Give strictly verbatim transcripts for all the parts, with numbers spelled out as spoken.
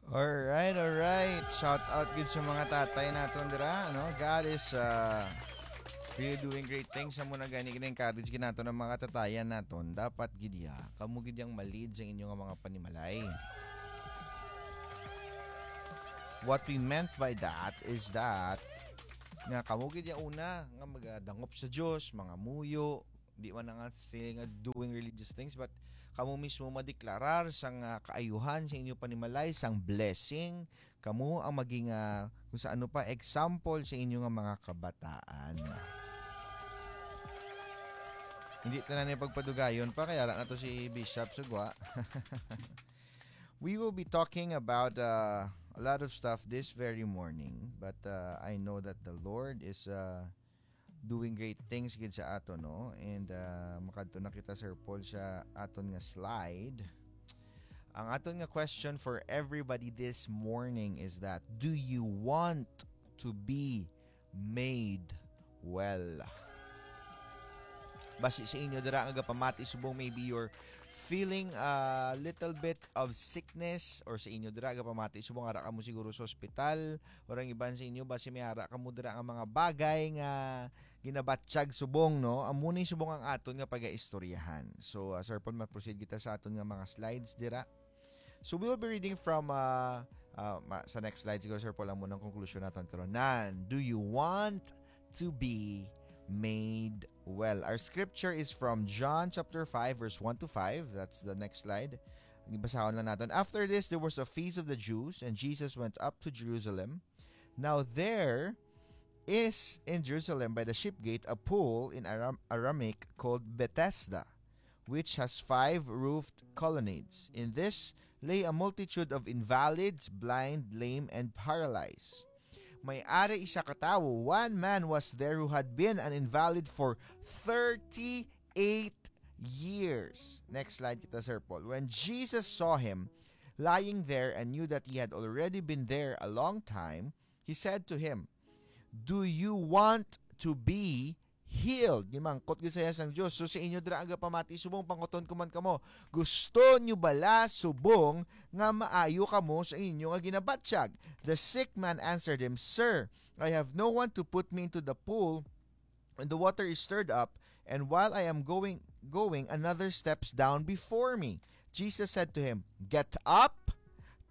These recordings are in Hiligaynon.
Alright, alright. Shout out gid sa mga tatay naton dira, no? God is uh, really doing great things. Amo na gani, gina-encourage gid naton ang mga tatayan naton. Dapat gid ya, kamo gid yang ma-lead sa inyo nga mga panimalay. What we meant by that is that nga kamo gid ya una nga magadangop sa Dios, mga muyo, di man na nga sila nga doing religious things, but kamo mismo madeklarar sang ah, kaayuhan sa inyo panimalay, sang blessing. Kamo ang maging ah, kung sa ano pa, example sa inyo nga mga kabataan. Hindi tanan ni pagpadugayon pa, kaya ara na to si Bishop Sugwa. We will be talking about uh, a lot of stuff this very morning, but uh, I know that the Lord is uh, doing great things gid sa aton, no? And uh, makadto na kita, Sir Paul, sa aton nga slide. Ang aton nga question for everybody this morning is that, do you want to be made well? Basi sa inyo dira nga gapamati, subong maybe you're feeling a little bit of sickness, or sa inyo dira gapamati, subong ara kamo siguro sa ospital, or ang iban sa inyo, basi may ara kamo dira nga mga bagay nga ginabatyag subong, no? Amo ni subong ang aton nga pagaistoryahan. So, uh, Sir Paul, ma-proceed kita sa aton nga mga slides dira. So, we'll be reading from uh, uh, ma- sa next slide siguro, Sir Paul, amo nang konklusyon naton karon. Nan, do you want to be made well? Our scripture is from John chapter five, verse one to five. That's the next slide. Ibasahon lang naton. After this, there was a feast of the Jews, and Jesus went up to Jerusalem. Now there is in Jerusalem by the sheep gate a pool in Aram- Aramaic called Bethesda, which has five roofed colonnades. In this lay a multitude of invalids, blind, lame, and paralyzed. May ari isa ka tawo, one man was there who had been an invalid for thirty-eight years. Next slide kita, Sir Paul. When Jesus saw him lying there and knew that he had already been there a long time, he said to him, "Do you want to be healed?" Gimangkot gid sa iya sang Dios. So sa inyo dira nga pamati, subong panguton ko man kamo, gusto nyo bala subong nga maayo kamo sa inyo nga ginabatyag? The sick man answered him, "Sir, I have no one to put me into the pool when the water is stirred up, and while I am going going, another steps down before me." Jesus said to him, "Get up,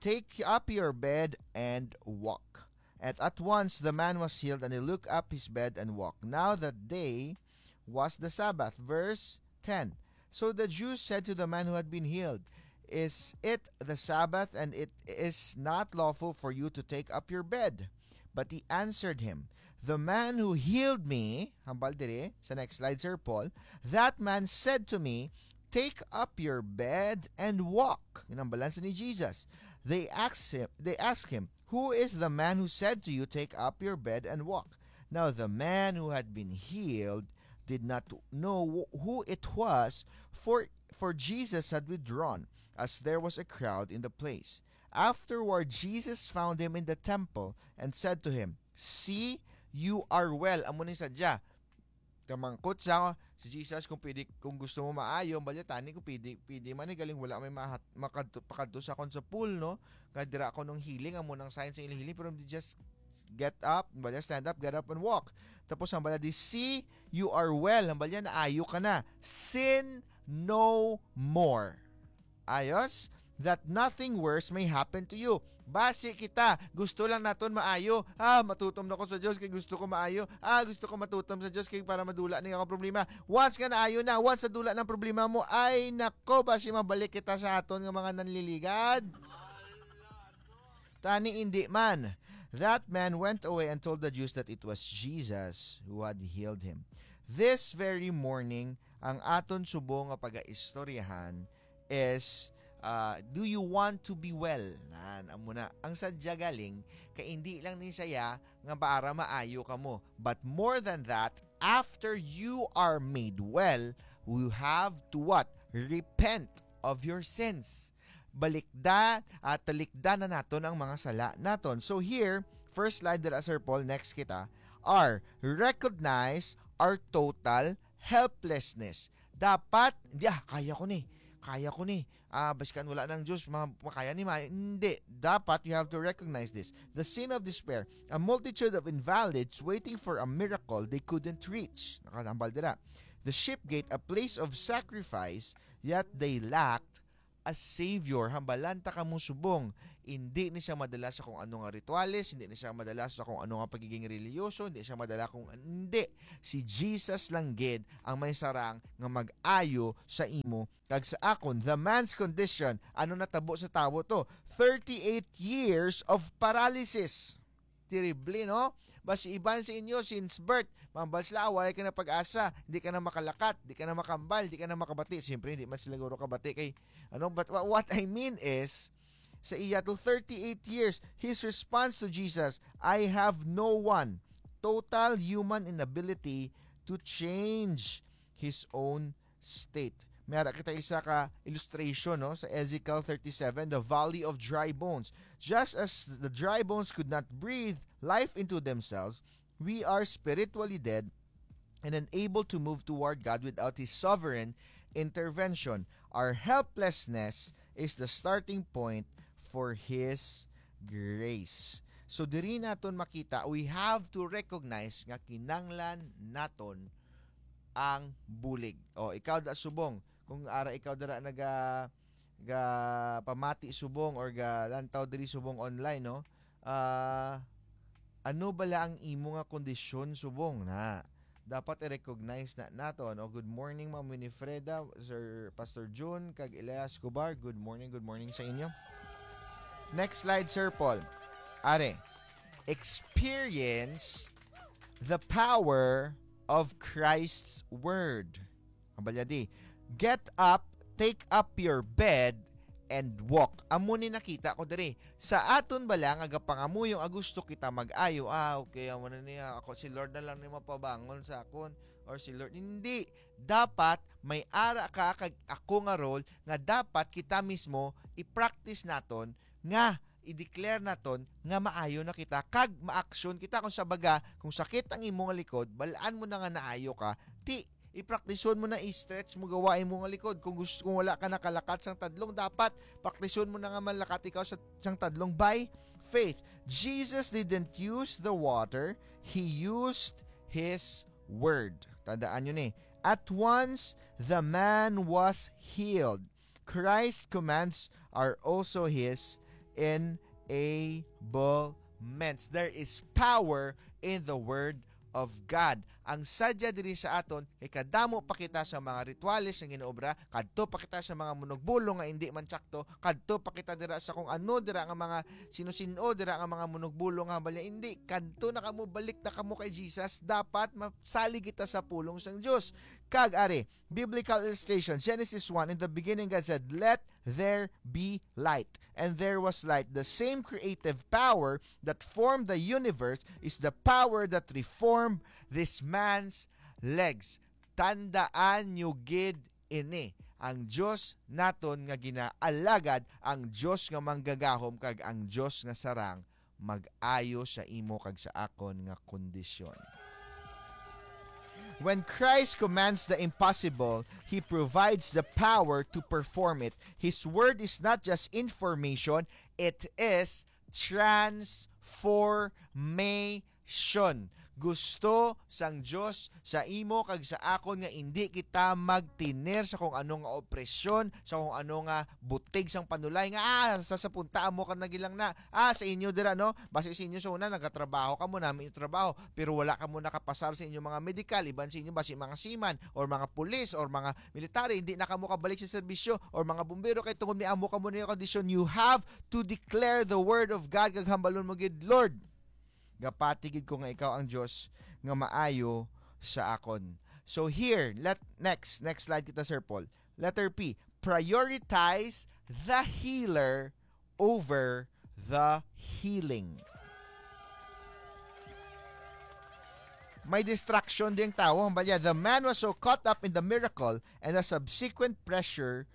take up your bed, and walk." And at once the man was healed, and he looked up his bed and walked. Now that day was the Sabbath. Verse ten. So the Jews said to the man who had been healed, "Is it the Sabbath, and it is not lawful for you to take up your bed?" But he answered him, "The man who healed me," hambal diri sa next slide, Sir Paul, "that man said to me, 'Take up your bed and walk.'" Ginhambalan sa ni Jesus. They asked him, they asked him, "Who is the man who said to you, 'Take up your bed and walk'?" Now the man who had been healed did not know wh- who it was, for for Jesus had withdrawn, as there was a crowd in the place. Afterward, Jesus found him in the temple and said to him, "See, you are well." Amo ni sadya. Kamangkot sa si Jesus kung pwede, kung gusto mo maayo, balya tani kung pwede, pwede man ni galing wala may mahat, makadto, pakadto sa akon sa pool, no? Nga dira ako nung healing, amo nang sign sa ilang healing, pero just get up, balya stand up, get up and walk. Tapos ang balya di, "See, you are well." Ang balya, naayo ka na. "Sin no more." Ayos? "That nothing worse may happen to you." Basi kita, gusto lang naton maayo. Ah, matutom na ko sa Dios kay gusto ko maayo. Ah, gusto ko matutom sa Dios kay para madula ni akong problema. Once nga naayo na, once nadula ng problema mo, ay nako, basi mabalik kita sa aton nga mga nanliligad. Tani indi man. That man went away and told the Jews that it was Jesus who had healed him. This very morning, ang aton subong nga pagaistoryahan is, uh, do you want to be well? Nan, amo na. Ang sadya galing, kay hindi lang ni saya nga para maayo kamo. But more than that, after you are made well, you have to what? Repent of your sins. Balikda at talikdan na naton ang mga sala naton. So here, first slide dira, Sir Paul, next kita, are recognize our total helplessness. Dapat, di ah, kaya ko ni, kaya ko ni, ah, basikan wala nang Diyos, ma-, makaya ni Mayo. Hindi. Dapat, you have to recognize this. The sin of despair, a multitude of invalids waiting for a miracle they couldn't reach. Nakahambal dira. The sheep gate, a place of sacrifice, yet they lacked a Savior. Hambalan ta kamo subong. Hindi ni siya madala sa kung ano nga rituales, hindi ni siya madala sa kung ano nga pagiging relihiyoso, hindi siya madala kung, hindi. Si Jesus lang gid ang may sarang nga mag-ayo sa imo kag sa akon. The man's condition, ano natabo sa tawo to? Thirty-eight years of paralysis. Terrible, no? Basi iban sa inyo, since birth, mambal sila, "Ah, walay ka na pag-asa, di ka na makalakat, di ka na makambal, di ka na makabati." Siyempre, hindi man sila guro kabati kay, ano, but wha-, what I mean is, sa iya to thirty-eight years, his response to Jesus, "I have no one." Total human inability to change his own state. May ara kita isa ka illustration, no, sa Ezekiel thirty-seven, the valley of dry bones. Just as the dry bones could not breathe life into themselves, we are spiritually dead and unable to move toward God without His sovereign intervention. Our helplessness is the starting point for His grace. So, diri naton makita, we have to recognize nga kinanglan naton ang bulig. O, ikaw da subong, kung ara ikaw dira naga, ga pamati subong or ga lantaw diri subong online, no? Ah, ano bala ang imo nga kondisyon subong na? Dapat i-recognize na naton. O, good morning, Ma'am Winifreda, Sir Pastor June, kag Elias Escobar. Good morning, good morning sa inyo. Next slide, Sir Paul. Are, experience the power of Christ's word. Ang balya di, "Get up, take up your bed, and walk." Amo ni nakita ko diri. Sa aton bala nga gapangamuyo nga gusto kita mag-ayo, "Ah, okay, amo na niya. Ako, si Lord na lang ni mapabangon sa akon, or si Lord." Hindi. Dapat may ara ka kag ako nga role nga dapat kita mismo i-practice naton nga i-declare naton nga maayo na kita kag ma-action kita. Kung sa baga, kung sakit ang imo nga likod, bal-an mo na nga naayo ka, ti, i-praktison mo na, i-stretch mo, gawa imo nga likod. Kung gusto, kung wala ka nakalakat sang tadlong, dapat praktison mo na nga malakat ikaw sa, sang tadlong by faith. Jesus didn't use the water, he used his word. Tandaan nyo ni. At once, the man was healed. Christ's commands are also his enablements. There is power in the word of God. Ang sadya diri sa aton, kay kadamo pa kita sa mga rituales nga ginaobra, kadto pa kita sa mga munugbulong nga indi man tsakto, kadto pa kita dira sa kung ano dira nga mga sino-sino dira nga mga munugbulong nga balya, indi, kadto na kamo, balik na kamo kay Jesus. Dapat masalig kita sa pulong sang Dios. Kag ari, biblical illustration, Genesis one, in the beginning God said, "Let there be light." And there was light. The same creative power that formed the universe is the power that reformed this man's legs. Tandaan nyo gid ini. Ang Dios naton nga ginaalagad, ang Dios nga manggagahom, kag ang Dios nga sarang mag-ayo sa imo kag sa akon nga kondisyon. When Christ commands the impossible, He provides the power to perform it. His word is not just information, it is transformation. Gusto sang Dios sa imo kag sa akon nga indi kita magtener sa kung ano nga opresyon, sa kung ano nga butig sang panulay nga, ah, sa, sa punta amo ka na gilang na. Ah, sa inyo dira, no? Basi sa inyo sa una, nagatrabaho kamo, nami inyo trabaho, pero wala kamo nakapasar sa inyo mga medical, iban sa inyo basi mga seaman, or mga pulis, or mga military, hindi na kamo kabalik sa serbisyo, or mga bumbero, kay tungod ni amo kamo na yung kondisyon, you have to declare the word of God, kag hambalon mo gid, "Lord, gapati gid ko nga ikaw ang Dios nga maayo sa akon." So here, let, next, next slide kita, Sir Paul. Letter P, prioritize the healer over the healing. May distraction ding tawo. Ang balya, the man was so caught up in the miracle and the subsequent pressure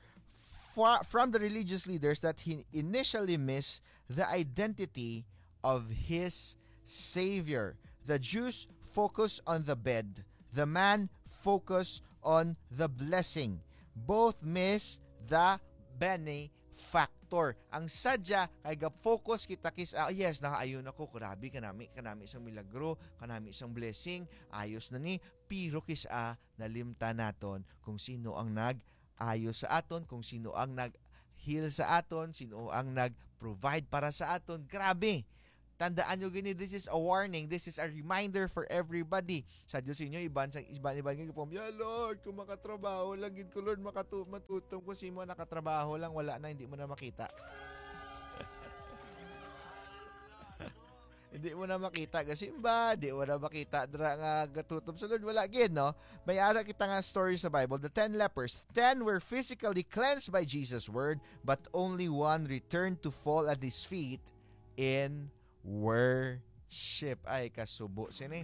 fro-, from the religious leaders that he initially missed the identity of his Savior. The Jews focus on the bed. The man focus on the blessing. Both miss the benefactor. Ang sadya kay ga-focus kita kis, ah, yes, nakaayo na ko, grabe, kanami, kanami sang milagro, kanami sang blessing, ayos na ni, pero kis, ah, nalimtan naton kung sino ang nag-ayo sa aton, kung sino ang nag-heal sa aton, sino ang nag-provide para sa aton. Grabe! Tandaan nyo gini, this is a warning, this is a reminder for everybody. Sa Dios inyo, iban sa iban, iban nga gipom, "Ya Lord, kung makatrabaho lang gid ko, Lord, makatu-, matutom ko sa imo, nakatrabaho lang, wala na, hindi mo na makita." Hindi mo na makita gasimba, di mo na makita dira nga gatutom sa Lord, wala gid, no? May ara kita nga story sa Bible, the ten lepers. Ten were physically cleansed by Jesus' word, but only one returned to fall at his feet in worship. Ay, kasubo sini.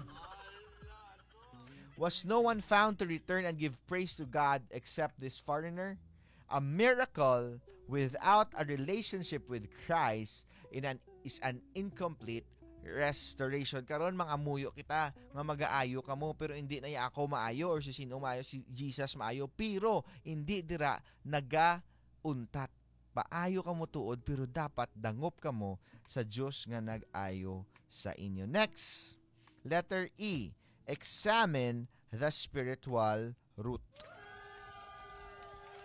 Was no one found to return and give praise to God except this foreigner? A miracle without a relationship with Christ in an, is an incomplete restoration. Karon, mangamuyo kita nga magaayo kamo, pero hindi na ya ako maayo or si sino maayo, si Jesus maayo, pero hindi dira nagauntat. Paayo kamo tuod, pero dapat dangop kamo sa Dios nga nag-ayo sa inyo. Next, letter E, examine the spiritual root.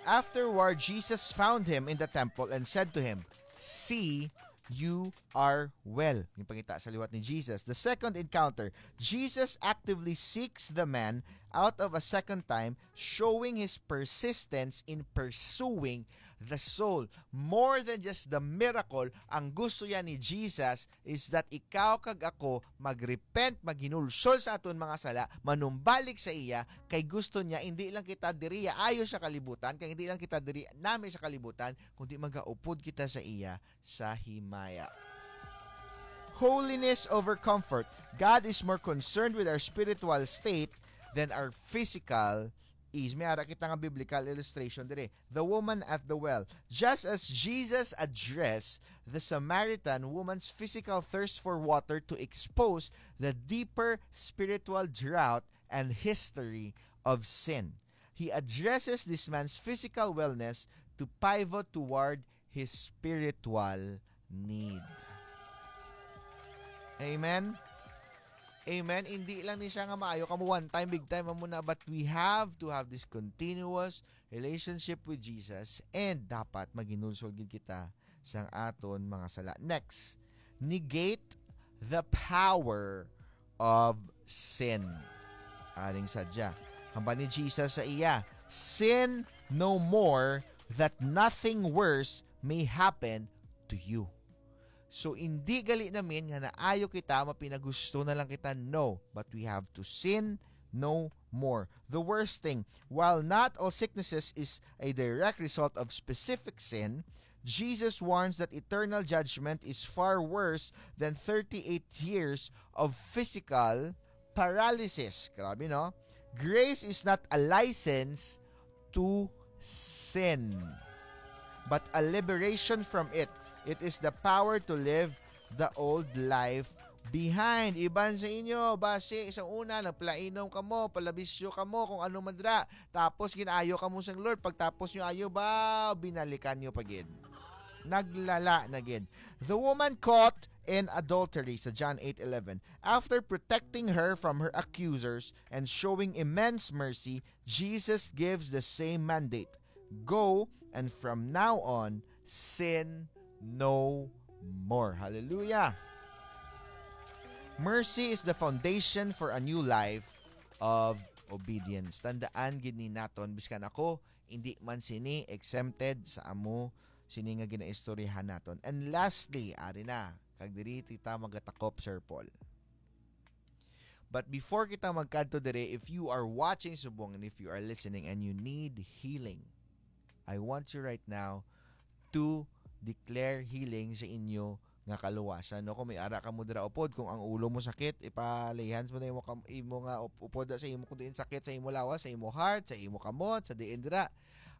Afterward, Jesus found him in the temple and said to him, "See, you are well." Yung pangita sa liwat ni Jesus. The second encounter, Jesus actively seeks the man out of a second time, showing his persistence in pursuing the soul. More than just the miracle, ang gusto yan ni Jesus is that ikaw kag ako mag-repent, maghinulsol sa aton mga sala, manumbalik sa iya, kay gusto niya, hindi lang kita diri ayo sa kalibutan, kay hindi lang kita diri nami sa kalibutan, kundi magaupod kita sa iya sa himaya. Holiness over comfort. God is more concerned with our spiritual state than our physical ease. May ara kita nga biblical illustration diri. The woman at the well. Just as Jesus addressed the Samaritan woman's physical thirst for water to expose the deeper spiritual drought and history of sin, he addresses this man's physical wellness to pivot toward his spiritual need. Amen? Amen? Hindi lang ni siya nga maayo kamo one time, big time, amo na, but we have to have this continuous relationship with Jesus, and dapat maghinulsol gid kita sang aton mga sala. Next, negate the power of sin. Aning sadya, hambal ni Jesus sa iya, "Sin no more, that nothing worse may happen to you." So, hindi gali namin nga naayo kita, mapinagusto na lang kita. No, but we have to sin no more. The worst thing, while not all sicknesses is a direct result of specific sin, Jesus warns that eternal judgment is far worse than thirty-eight years of physical paralysis. Grabe, no? Grace is not a license to sin, but a liberation from it. It is the power to leave the old life behind. Iban sa inyo, basi sa una, nagpalainom kamo, palabisyo kamo, kung ano man dira. Tapos, ginayo kamo sang Lord. Pagtapos nyo ayo ba, binalikan nyo pa gid. Naglala na gid. The woman caught in adultery sa John eight eleven. After protecting her from her accusers and showing immense mercy, Jesus gives the same mandate. "Go, and from now on, sin no more." Hallelujah! Mercy is the foundation for a new life of obedience. Tandaan gid ni naton, biskan ako, hindi man sini exempted sa amo sini nga ginaistoryahan naton. And lastly, ari na, kag diri kita magatakop, Sir Paul. But before kita magkadto diri, if you are watching subong and if you are listening and you need healing, I want you right now to declare healing sa inyo nga kaluwasan, no? Kung may ara kamo dira upod, kung ang ulo mo sakit, ipalay hands mo na imo kam-, imo nga up-, upod sa imo, kung diin sakit sa imo lawas, sa imo heart, sa imo kamot, sa diin dira.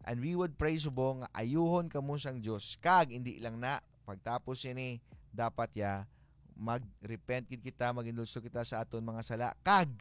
And we would pray subong nga ayuhon kamo sang Dios. Kag hindi lang na, pagtapos sini, dapat ya mag-repent gid kita, maginulso kita sa aton mga sala, kag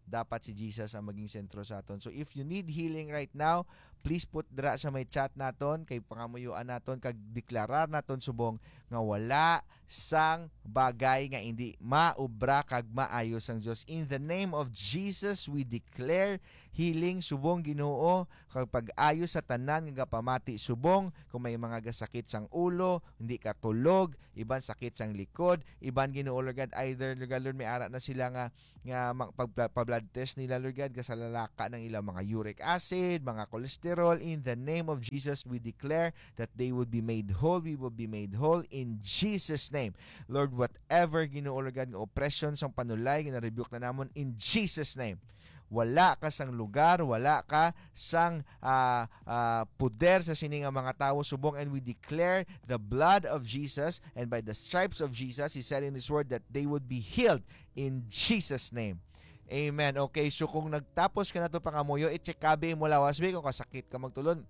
dapat si Jesus ang maging sentro sa aton. So if you need healing right now, please put dira sa may chat naton, kay pangamuyoan naton, kag deklarar naton subong nga wala sang bagay nga hindi maobra kag maayo sang Dios. In the name of Jesus, we declare healing subong, Ginoo, kag pag-ayo sa tanan nga gapamati subong, kung may mga gasakit sang ulo, hindi ka tulog, iban sakit sang likod, iban, Ginoo, Lord God, either, Lord God, Lord, may ara na sila nga nga mag-, pag-, pa-blood test nila, Lord God, gasalalaka ng ilang mga uric acid, mga cholesterol. In the name of Jesus, we declare that they would be made whole. We will be made whole in Jesus' name. Lord, whatever, Ginoo, Lord God, nga oppression sang panulay, gina-rebuke na namon in Jesus' name. Wala ka sang lugar, wala ka sang, ah, ah, poder sa sini nga mga tawo subong, and we declare the blood of Jesus, and by the stripes of Jesus, He said in His word that they would be healed in Jesus' name. Amen. Okay, so kung nagtapos ka na to pangamuyo, i-check ka, be, mo lawas, be, kung kasakit ka magtulon.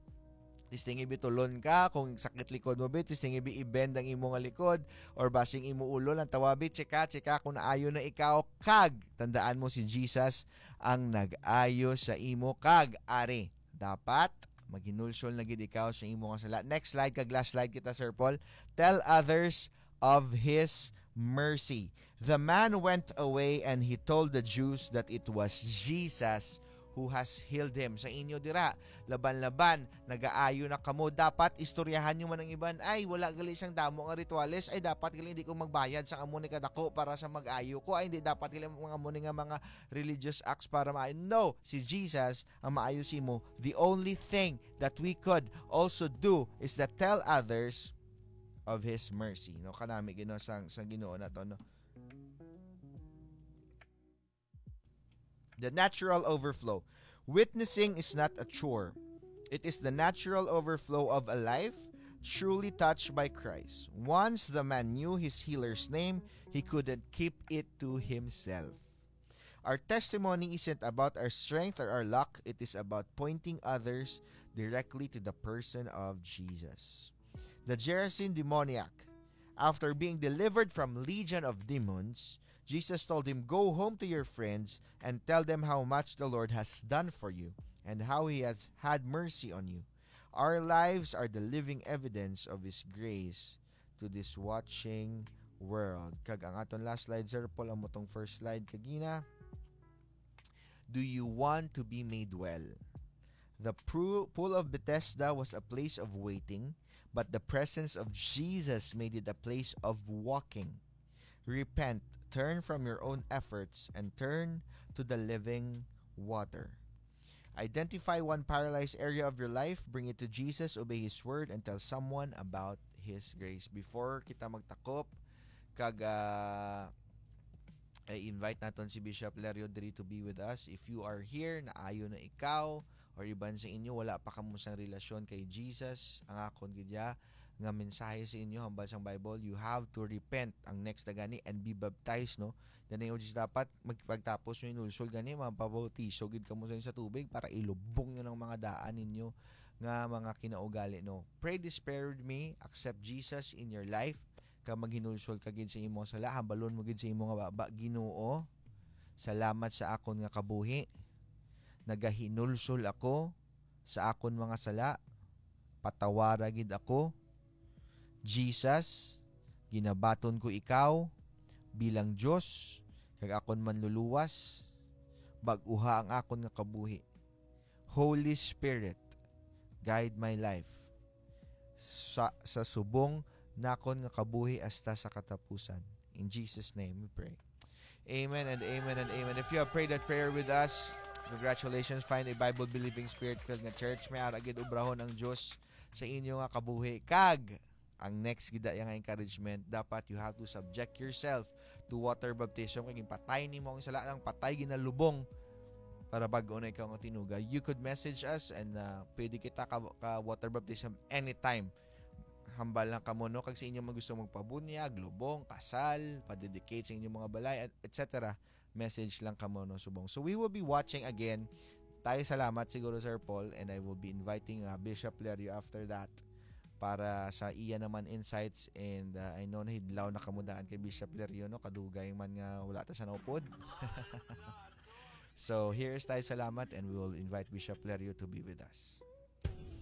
Testingi, be, tulon ka. Kung sakit likod mo, be, testingi, be, i-bend ang imo nga likod, or basing imo ulo lang tawa, be, check ka, check ka kung naayo na ikaw. Kag tandaan mo, si Jesus ang nag-ayo sa imo. Kag ari, dapat maghinulsol na gid ikaw sa imo nga sala. Next slide, kag last slide kita, Sir Paul. Tell others of His mercy. The man went away and he told the Jews that it was Jesus who has healed him. Sa inyo dira, laban-laban, nagaayo na kamo. Dapat istoryahan nyo man ang iban. Ay, wala gali sang damo nga rituales. Ay, dapat gali hindi ko magbayad sang amo ni kadako para sa mag-ayo ko. Ay, hindi dapat gali mga amo ni nga mga religious acts para maayo. No, si Jesus ang maayo sa imo. The only thing that we could also do is that tell others of His mercy. No, kanami, Ginoo, sang, sang Ginoo nato, no? The natural overflow. Witnessing is not a chore. It is the natural overflow of a life truly touched by Christ. Once the man knew his healer's name, he couldn't keep it to himself. Our testimony isn't about our strength or our luck. It is about pointing others directly to the person of Jesus. The Gerasene demoniac, after being delivered from legion of demons, Jesus told him, "Go home to your friends and tell them how much the Lord has done for you and how He has had mercy on you." Our lives are the living evidence of His grace to this watching world. Kag ang aton last slide, Sir Paul, amo tong first slide kagina. Do you want to be made well? The pru-, pool of Bethesda was a place of waiting, but the presence of Jesus made it a place of walking. Repent, turn from your own efforts, and turn to the living water. Identify one paralyzed area of your life, bring it to Jesus, obey His word, and tell someone about His grace. Before kita magtakop, kag, ah, i-invite naton si Bishop Lerio diri to be with us. If you are here, naayo na ikaw, or iban sa inyo, wala pa kamo sang relasyon kay Jesus, ang akon gid ya nga mensahe sa inyo hambal sang Bible, you have to repent. Ang next na gani, and be baptized, no? Gani, which is dapat magpagtapos nyo inulsol gani, mapabautiso gid kamo sa, sa tubig para ilubong nyo ng mga daan ninyo nga mga kinaugali, no? Pray this prayer with me, accept Jesus in your life, ka maghinulsol ka gid sa imo nga sala, hambalon mo gid sa imo nga baba, "Ginoo, salamat sa akon nga kabuhi. Nagahinulsol ako sa akon mga sala. Patawara gid ako. Jesus, ginabaton ko ikaw bilang Dios kag akon Manluluwas. Bag-uha ang akon nga kabuhi. Holy Spirit, guide my life sa, sa subong nakon nga kabuhi hasta sa katapusan." In Jesus' name we pray. Amen and amen and amen. If you have prayed that prayer with us, congratulations. Find a Bible-believing, Spirit-filled nga church. May ara gid obrahon ang Dios sa inyo nga kabuhi. Kag ang next gid ya nga encouragement, dapat you have to subject yourself to water baptism. Kay ginpatay nimo ang sala, ang patay ginalubong para bag-o na ikaw nga tinuga. You could message us and, uh, pwede kita ka, ka water baptism anytime. Hambal lang kamo, no? Kag sa inyo man gusto magpabunyag, lubong, kasal, pa-dedicate sa inyong mga balay, et cetera, message lang kamo, no, subong. So we will be watching again. Tayo salamat siguro, Sir Paul, and I will be inviting, uh, Bishop Lerio after that para sa iya naman insights, and, uh, I know nahidlaw na kamo daan kay Bishop Lerio, no? Kadugay man nga wala ta siya naupod. So here is Tayo Salamat, and we will invite Bishop Lerio to be with us.